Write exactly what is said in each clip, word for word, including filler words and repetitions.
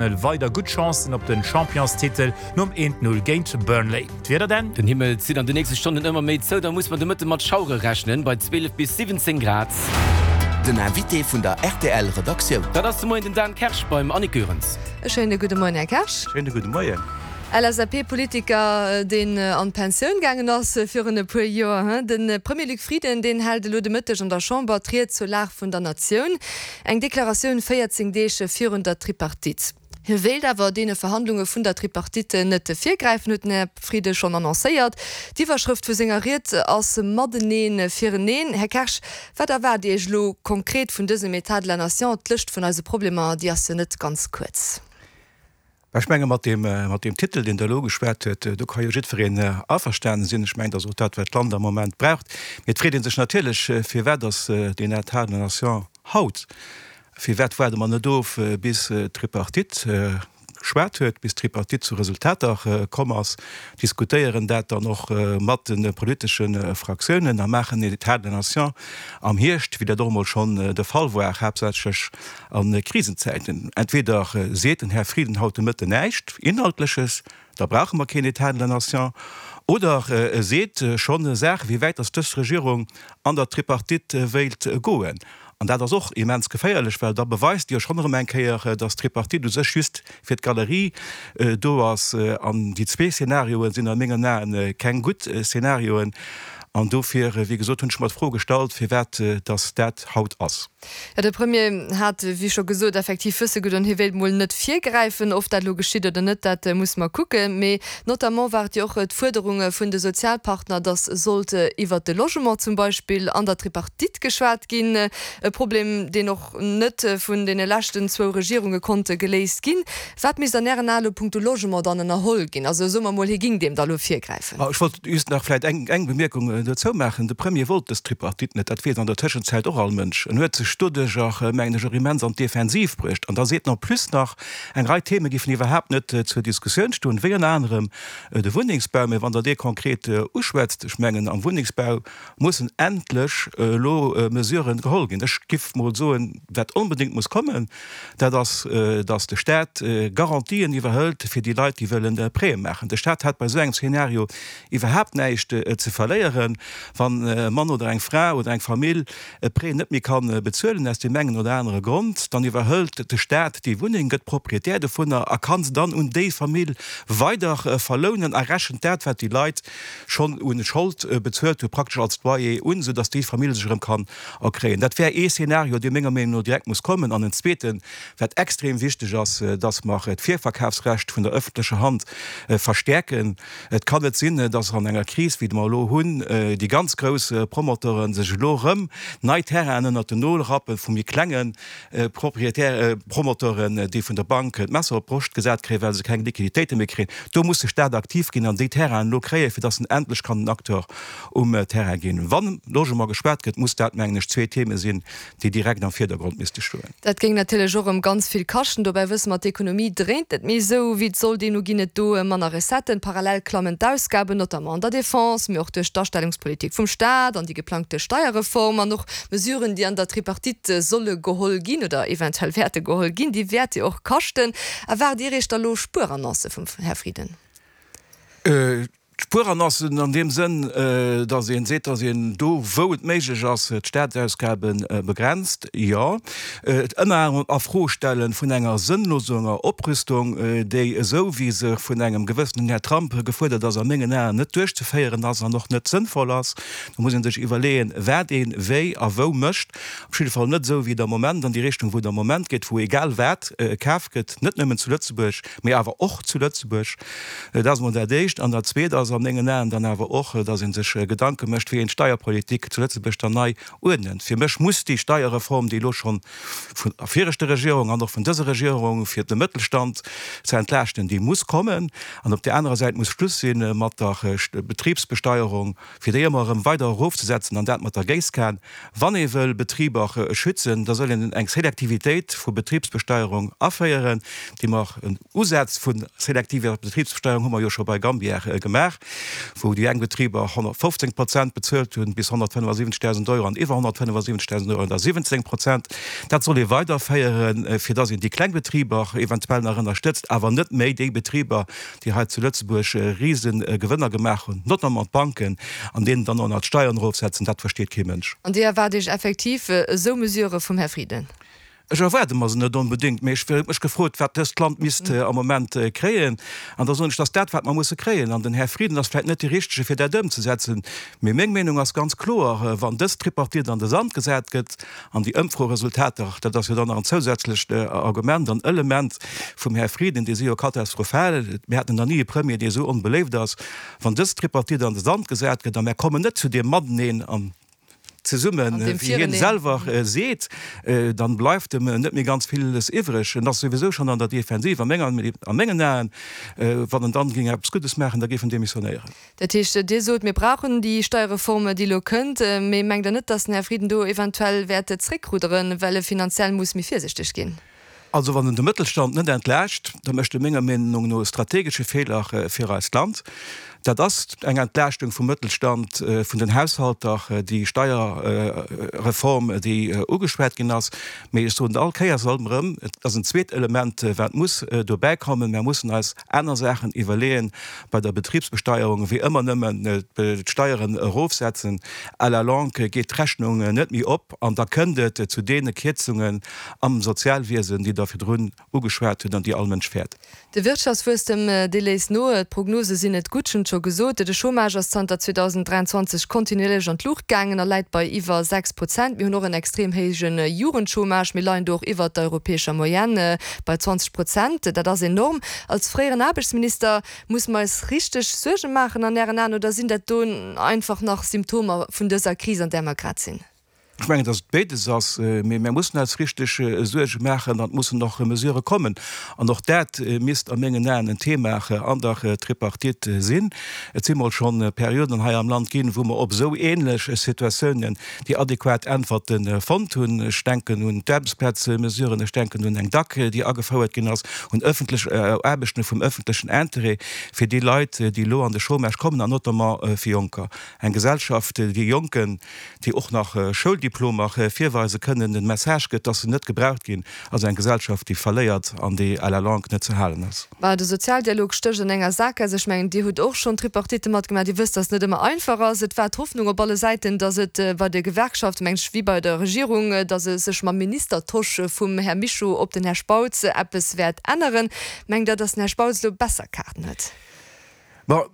Weider gutt Chancen op den Championstitel nom eent Null géint Burnley. D'Wieder denn? Den Himmel zitt an de nächste Stonnen ëmmer méi zou, da muss mer de Mëtte mat Schauere rechnen, bei zwielef bis siwwenzéng Grad. Den Invité vun der R T L Redaktioun. Dat ass de Moien den Dan Kersch beim Annick Goerens. E schéine gudde Moien, Här Kersch. Schéine gudde Moien. L S A P-Politiker, deen an d'Pensioun gaangen ass virun e puer Joer, de Premier Luc Frieden, deen hält elo de Mëtteg an der Chamber d'Ried zur Lag vun der Natioun. Eng Deklaratioun véierzéng Deeg virun der Tripartite. Hie wéilt awer deene Verhandlunge vun der Tripartite net virgräifen, huet den Här Frieden schonn annoncéiert. D'Iwwerschrëft vu senger Ried ass Mateneen fireneen. Här Kersch, wat erwaart Dir Iech elo konkret vun dësem État de la Nation? D'Lëscht vun eise Problemer, déi ass jo net ganz kuerz. Ech menge mat deem, mat deem Titel, deen Der elo geschwat huet, do ka jo jiddwereen averstanen sinn. Ech mengen, dat ass och dat, wat d'Land am Moment braucht. Mee et freet ee sech natierlech, firwat ass deen État de la Nation haut? Firwat waarde mer net of, bis d'Tripartite geschwat huet, bis d'Tripartite zu Resultater komm ass, diskutéieren dat dann och mat de politesche Fraktiounen a maachen en État de la Nation am Hierscht, wéi dat och emol schonn de Fall war, haaptsächlech a Krisenzäiten. Entweder seet den Här Frieden haut de Mëtten näischt Inhaltleches, da brauche mer keen État de la Nation, oder e seet schonn Saachen, wéi wäit dass dës Regierung an der Tripartite wéilt goen. An dat ass och immens geféierlech, well da beweist Dir jo schonn erëm eng Kéier, dass d'Tripartite u sech just fir d'Galerie do ass. An déi zwee Szenarioe sinn a mengen Aen keng gutt Szenarioen. An dofir, wéi gesot, hunn ech mer d'Fro gestallt, firwat dass dat haut ass. Jo, de Premier hat, wéi scho gesot, effektiv wësse gedoen, hie wéilt mol net virgräifen. Of dat elo geschitt oder net, dat musse mer kucken. Mee notamment war et jo och d'Fuerderung vun de Sozialpartner, datt sollt iwwert de Logement zum Beispill an der Tripartite geschwat ginn. E Problem, deen och net vun deene leschten zwou Regierunge konnte geléist ginn. Wat misst an Ären Ae lo punkto Logement dann ënnerholl ginn? Also soe mer mol, hie géing deem da lo virgräifen. Ech wollt just nach vläicht eng Bemierkung dozou maachen. De Premier wollt dës Tripartite net, dat weess an der Tëschenzäit och all Mënsch. En huet sech doduercher, mengen ech, och immens an d'Defensiv bruecht. An da seet en en plus nach, eng Rei Theme géifen iwwerhaapt net zur Diskussioun stoen, wéi ënner anerem de Wunnengsbau. Mä wann Der dee konkret uschwätzt, ech mengen, am Wunnengsbau mussen endlech elo Mesuren geholl ginn. Ech giff mol soen, wat onbedéngt muss kommen, dat ass, datt de Staat Garantien iwwerhëlt fir déi Leit, déi wëllen Prêtë maachen. De Staat hätt bei esou engem Szenario iwwerhaapt näischt ze verléieren, wann e Mann oder eng Fra oder eng Famill e Prêt net méi ka bezuelen aus deem engen oder anere Grond, dann iwwerhëlt de Staat déi Wunneng, gëtt Proprietär dovunner a ka se dann un déi Famill weider verlounen a rechent dat, wat déi Leit schonn u Schold bezuelt hunn, praktesch als Loyer un, soudass déi Famill sech erëm kann erkréien. Dat wär ee Szenario, dee menger Meenung no direkt muss kommen. An en zweeten, wat extrem wichteg ass, dass mer d'Virverkafsrecht vun der öffentlecher Hand verstäerken. Et kann net sinn, dass an enger Kris, wéi mer elo hunn, déi ganz grouss Promoteuren sech elo erëm nei Terrainen ënnert den Nol rappe vu méi klenge Propriétaire, Promoteuren, déi vun der Bank d'Messer op d'Broscht gesat kréien, well se keng Liquiditéite méi kréien. Do muss de Stat aktiv ginn an déi Terrainen elo kréien, fir dass en endlech kann en Acteur um Terrain ginn. Wann Logement geschwat gëtt, muss dat, mengen ech, zwee Theme sinn, déi direkt am Virdergrond misste stoen. Dat géing natierlech och erëm ganz vill kaschten. Dobäi wësse mer, d'Ekonomie dréint net méi esou, wéi et soll. Deemno ginn et do manner Recetten. Parallel klammen d'Ausgaben, notamment an der Defense, mee och duerch d'Astellungspolitik vum Staat an déi geplangte Steierreform an och Mesuren, déi an der Tripartite solle geholl ginn oder eventuell wäerte geholl ginn, déi wäerte jo och kaschten. Erwaart Dir Iech da lo Spuerannoncë vum Här Frieden? Spuerannoncen an deem Sënn, datt ee seet, datt een do, wou et méiglech ass, d'Staatsausgabe begrenzt, jo. Ënner anerem a-Fro-stelle vun enger sënnloser Oprüstung, déi esou, wéi se vun engem gewëssenen Här Trump gefuerdert ass, a mengen Aen net duerchzeféieren ass an och net sënnvoll ass. Do muss ee sech iwwerleeën, wat ee wéi a wou mécht. Op jidde Fall net esou, wéi et am Moment, an déi Richtung, wou et am Moment geet, wou egal wat kaf gëtt, net nëmmen zu Lëtzebuerg, mee awer och zu Lëtzebuerg. Dat ass emol dat Éischt. An dat Zweet ass a mengen Aen dann awer och, dass ee sech Gedanke mécht, wéi een d'Steierpolitik zu Lëtzebuerg dann nei uerdnent. Fir mech muss déi Steierreform, déi elo schonn vun der viregter Regierung an och vun dëser Regierung fir de Mëttelstand ze entlaaschten, déi muss kommen. An op där anerer Säit muss Schluss si mat der Betribsbesteierung, fir déi ëmmer erëm weider erofzesetzen, an dat mat der Géisskan. Wann ee wëll Betriber schützen, da soll een eng Selektivitéit vu Betribsbesteierung aféieren, déi mer en Usaz vu selektiver Betribsbesteierung hu mer jo scho bei Gambier gemaach. wou déi eng Betriber honnertfofzéng Prozent bezuelt hunn, bis honnertfënnefasiwwenzegdausend Euro an iwwer honnertfënnefasiwwenzegdausend Euro da siwwenzéng Prozent. Dat soll ee weiderféieren, fir dass een déi kleng Betriber eventuell nach ënnerstëtzt, awer net méi déi Betriber, déi hei zu Lëtzebuerg rise Gewënner gemaach hunn, notamment d'Banken, an deenen dann och nach d'Steieren erofsetzen. Dat versteet kee Mënsch. An Dir erwaart Iech effektiv esou Mesurë vum Här Frieden? Ech erwaarde mer se net onbedéngt, mee ech hu mech gefrot, wat dëst Land misst am Moment kréien. An da soen ech, dat ass dat, wat mer musse kréien. An den Här Frieden ass vläicht net dee Richtege, fir dat ëmzesetzen. Mee meng Meenung ass ganz kloer, Wann dës Tripartite an de Sand gesat gëtt, an déi Ëmfroresultater, dat ass jo dann nach en zousätzlecht Argument an Element vum Här Frieden, déi si jo katastrophal, mir haten nach ni e Premier, dee esou onbeléift ass, wann dës Tripartite an de Sand gesat gëtt a mer kommen net zu deem Mateneen an zesummen, wéi hien selwer seet, dann bleift em net méi ganz villes iwwreg. En ass souwisou schonn an der Defensiv a mengen Aen. Wann en dann géing eppes Guddes maachen, da géif en demissionéieren. Dat heescht, Dir sot, mir brauchen déi Steierreform, déi elo kënnt, mee mengt Der net, datt den Här Frieden do eventuell wäert zréckrudderen, well e finanziell muss méi virsichteg ginn? Also wann en de Mëttelstand net entlaascht, da mécht e menger Meenung no e strategesche Feeler fir eist Land. Dat ass eng Entlaaschtung vum Mëttelstand, vun den Haushalter, déi Steierreform, déi ugeschwat ginn ass. Mee ech soen all Kéiers alt erëm, et ass en zweet Element, wat muss dobäikommen. Mer mussen eis aner Saachen iwwerleeën bei der Betribsbesteierung, wéi ëmmer nëmmen d'Steieren erofsetzen. À la longue geet d'Rechnung net méi op an da kënnt et zu deene Kierzungen am Sozialwiesen, déi Der virdrun ugeschwat hutt an déi all Mënsch fäert. De Wirtschaftswuesstem, dee léisst no. D'Prognose sinn net gutt, ech hunn et scho gesot. De Chômage ass zanter zweedausend dräianzwanzeg kontinuierlech an d'Luucht gaangen a läit bei iwwer sechs Prozent. Mir hunn och en extrem héije Jugendchômage. Mir leien do och iwwert der europäescher Moyenne bei zwanzeg Prozent. Dat ass enorm. Als fréieren Aarbechtsminister, musse mer eis richteg Suerge maachen an Ären Aen oder sinn dat do einfach nach Symptomer vun dëser Kris, an där mer grad sinn? Ech mengen, datt et béides ass, mee mär mussen eis richteg Suerge maachen an et mussen och Mesurë kommen. An och dat misst a mengen Aen en Thema an der Tripartite sinn. Et si mol schonn Perioden hei am Land ginn, wou mer op esou ähnlech Situatiounen déi adequat Äntwerte fonnt hunn. Ech denken un d'Aarbechtsplazmesuren, ech denken un eng D A C, déi agefouert ginn ass, un ëffentlech Aarbechten vum ëffentlechen Interêt fir déi Leit, déi elo an de Chômage kommen, an notamment fir Jonker. Eng Gesellschaft, déi Jonken, déi och nach Schouldiplomer virweise kënnen, den Message gëtt, dass se net gebraucht ginn, ass eng Gesellschaft, déi verléiert an déi à la longue net ze halen ass. Bah, de Sozialdialog stécht an enger Saakgaass. Ech mengen, Dir hutt och schonn Tripartite matgemaach. Dir wësst, dass et net ëmmer einfach ass. Et war d'Hoffnung op alle Säiten, dass et bei de Gewerkschaften, mengen ech, wéi bei der Regierung, dass e sech mam Ministertosch vum Här Mischo op den Här Spautz eppes wäert änneren. Mengt Der, dass den Här Spautz elo besser Kaarten huet? Bon,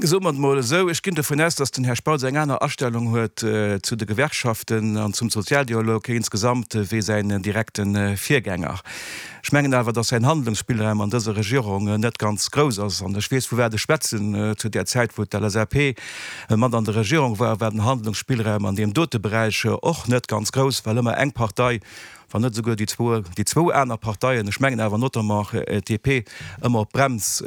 soe mer et emol esou, ech ginn dovun aus, datt den Här Spautz eng aner Astellung huet zu de Gewerkschaften an zum Sozialdialog insgesamt wéi säin direkte Virgänger. Ech mengen awer, datt säin Handlungsspillraum an dëser Regierung net ganz grouss ass. An ech weess, vu wat ech schwätzen. Zu där Zäit, wou d'L S A P mat an der Regierung war, war den Handlungsspillraum an deem dote Beräich och net ganz grouss, well ëmmer eng Partei, wann net esouguer déi zwou, déi zwou aner Parteien, ech mengen awer notamment d'D P, ëmmer op d'Brems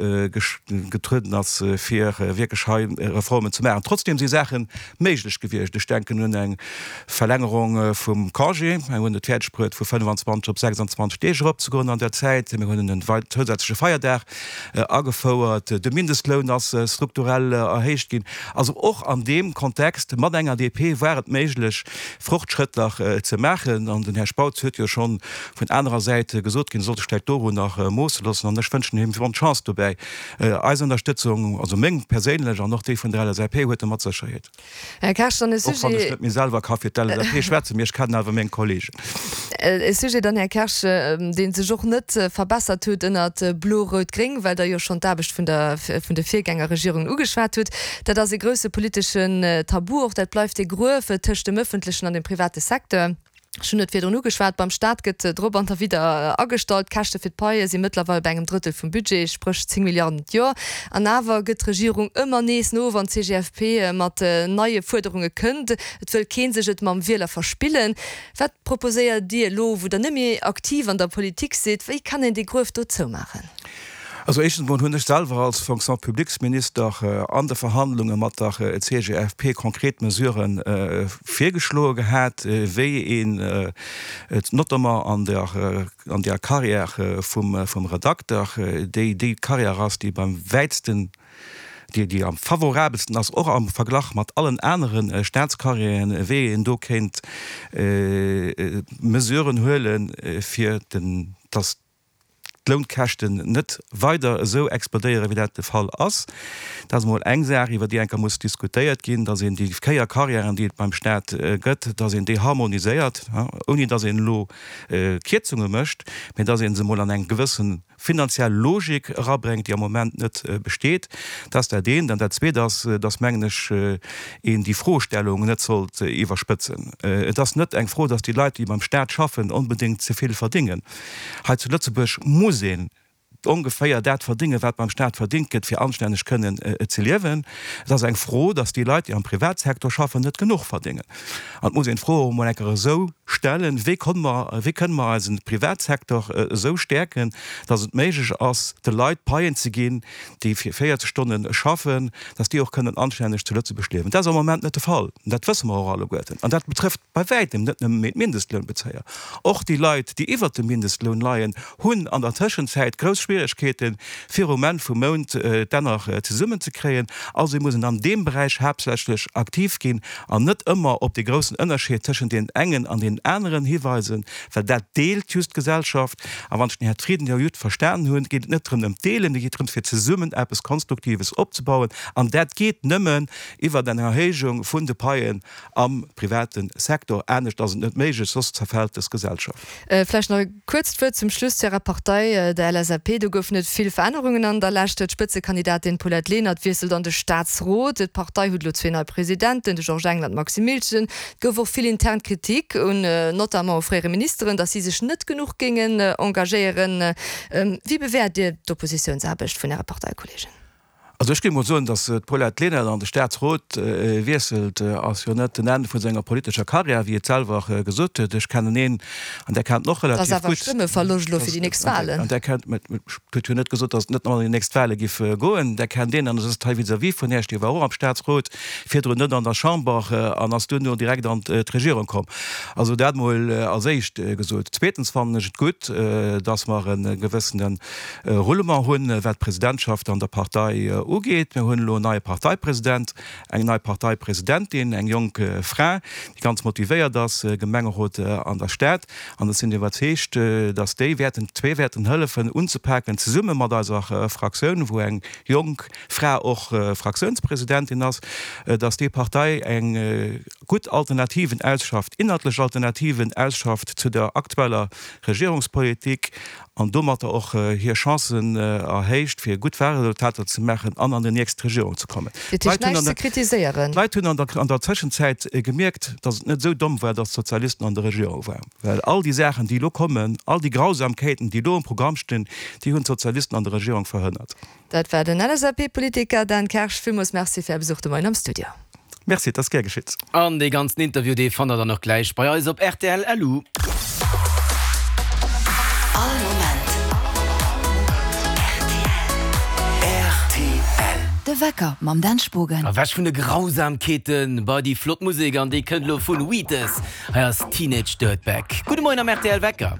getrueden ass, fir wierklech hei Reformen ze maachen. Trotzdem si Saache méiglech gewiescht. Ech denken un eng Verlängerung vum Congé. Mir hunn et fäerdeg bruet, vu fënnefanzwanzeg op sechsandzwanzeg Deeg eropzegoen an der Zäit. Mir hunn en zousätzleche Feierdag agefouert. De Mindestloun ass strukturell erhéicht ginn. Also och an deem Kontext mat enger D P war et méiglech, Fortschrëtter ze maachen. An den Här Spautz huet jo schonn vun anerer Säit gesot ginn, e sollt sech vläicht dorun nach moosse loossen. An ech wënschen him bonne Chance dobäi. Eis Ënnerstëtzung, also meng perséinlech an och déi vun der L S A P, huet e mat Sécherheet. Här Kersch, dann e Och wann ech Sujet. net méi selwer ka fir d'L S A P schwätzen, mee ech kennen awer meng Kollegen. E Sujet dann, Här Kersch, dee sech och net verbessert huet ënnert Blo-Rout-Gréng, well Der jo schonn d'Aarbecht vun der, vun de Virgängerregierungen ugeschwat hutt. Dat ass e grousse politeschen Tabu och. Dat bleift e Gruef tëscht dem ëffentlechen an dem private Secteur. Ech hunn et virdrun ugeschwat, beim Staat gëtt drop an derwidder agestallt. D'Käschte fir d'Paie si mëttlerweil bei engem Drëttel vum Budget, spréch zéng Milliarden d'Joer. An awer gëtt d'Regierung ëmmer nees no, wann d'C G F P mat neie Fuerderunge kënnt. Et wëll kee sech et mam Wieler verspillen. Wat proposéiert Dir elo, wou Der net méi aktiv an der Politik sidd? Wéi kann een dee Gruef do zoumaachen? Also éischtens mol hunn ech selwer als Fonction-publiques-Minister an de Verhandlunge mat der C G F P konkret Mesurë virgeschloe gehat, wéi een notamment an der an der Carrière vum vum Redakter, déi déi Carrière ass, déi beim wäitsten déi, déi am favorabelsten ass, och am Verglach mat allen anere Staatscarrièren, wéi een do kéint Mesuren huelen, fir den, dass d'Lounkäschten net weider esou explodéieren, wéi dat de Fall ass. Dat ass emol eng Saach, iwwer déi eng Kéier muss diskutéiert ginn, dass een déi véier Carrièren, déi et beim Staat gëtt, dass een déi harmoniséiert, ouni dass een elo Kierzunge mécht, mä dass ee se emol an eng gewësse finanziell Logik erabréngt, déi am Moment net besteet. Dat ass dat eent. An dat Zweet ass, dass, mengen ech, een déi Froestellung net sollt iwwerspëtzen. Et ass net eng Fro, dass déi Leit, déi beim Staat schaffen, onbedéngt ze vill verdéngen. Hei zu Lëtzebuerg muss een ongeféier dat verdéngen, wat beim Staat verdéngt gëtt, fir anstänneg kënnen ze liewen. Et ass eng Fro, dass déi Leit, déi am Privatsecteur schaffen, net genuch verdéngen. An et muss een d'Fro och emol eng Kéier esou stellen, Wéi komme mer, wéi kënne mer eise Privatsecteur esou stäerken, dass et méiglech ass, de Leit Paien ze ginn, déi fir véierzeg Stonne schaffen, dass déi och kënnen anstänneg zu Lëtzebuerg liewen? Dat ass am Moment net de Fall. An dat wësse mer och alleguerten. An dat betrëfft bei wäitem net nëmme méi d'Mindestlounbezéier. Och déi Leit, déi iwwert dem Mindestloun leien, hunn an der Tëschenzäit grouss Schwieregkeeten, fir um Enn vum Mount d'Enner zesummenzekréien. Also muss een an deem Beräich haaptsächlech aktiv ginn an net ëmmer op dee groussen Ënnerscheed tëschent deenen engen an deenen aneren hiweisen, well dat deelt just d'Gesellschaft. A wann ech den Här Frieden jo gutt verstanen hunn, geet et net drëm ëm d'Deelen, et geet drëms fir zesummen eppes Konstruktives opzebauen. An dat geet nëmmen iwwert eng Erhéijung vun de Paien am private Secteur. Anescht ass et net méiglech, soss zerfält dës Gesellschaft. Vläicht nach e kuerzt Wuert zum Schluss zu Ärer Partei, der L S A P. Do goufen et vill Verännerungen an der Lescht. D'Spëtzekandidatin Paulette Lenert wiesselt an de Staatsrot. D'Partei huet elo zwee nei Presidenten, de Georges Engel an d'Maxime Miltgen. Et gouf och vill intern Kritik un notamment u fréiere Ministeren, datt si sech net genuch géingen engagéieren. Wéi bewäert Dir d'Oppositiounsaarbecht vun Äre Parteikollegen? Also ech géif mol soen, datt d'Paulette Lenert an de Staatsrot wiesselt, ass jo net den Enn vu senger politescher Karriär, wéi et selwer gesot huet. Ech kennen een, an där kennt en och Dat ass relativ awer gutt. Stëmmeverloscht elo fir déi nächst Wahlen. An där kennt, mä ech huet jo net gesot, datt et net an déi nächst Wahle giff goen. Där kennt een, an et ass hei vis-à-vis vun Iech, dee war och am Staatsrot, virdrun net an der Chamber an ass duerno direkt an d'Regierung komm. Also dat mol als éischt gesot. Zweetens fannen ech et gutt, datt mer e gewëssene Roulement hunn, wat d'Presidentschaft an der Partei ugeet. Mir hunn elo en neie Parteipresident, eng nei Parteipresidentin, eng jonk Fra, déi ganz motivéiert ass, Gemengerot an der Stad. An ech sinn iwwerzeegt, dass déi wäerten, zwee wäerten hëllefen unzepaken, zesumme mat eiser Fraktioun, wou eng jonk Fra och Fraktiounspresidentin ass, dass déi Partei eng gutt Alternativen ausschafft, inhaltlech Alternativen ausschafft zu der aktueller Regierungspolitik an domatter och hir Chancen erhéicht, fir gutt Wahlresultater ze maachen an an déi nächst Regierung ze kommen. Dat heescht näischt ze kritiséieren? D'Leit hunn an der Tëschenzäit gemierkt, datt et net esou domm war, datt d'Sozialisten an der Regierung waren. Well all déi Saachen, déi elo kommen, all déi Grausamkeiten, déi elo am Programm stinn, déi hunn d'Sozialisten an der Regierung verhënnert. Dat war den L S A P-Politiker Dan Kersch. Villmools Merci fir Är Besuch de Moien am Studio. Merci, et ass gär geschitt. An dee ganzen Interview, dee fannt der dann och gläich bei eis op R T L L U. All Moment R T L. R T L. De Wecker mam Dan Spogen. Ewech vun de Grausamkeeten bei déi flott Musek an déi kënnt elo vun Wheatus. Hei ass Teenage Dirtbag. Gudde Moien am R T L Wecker.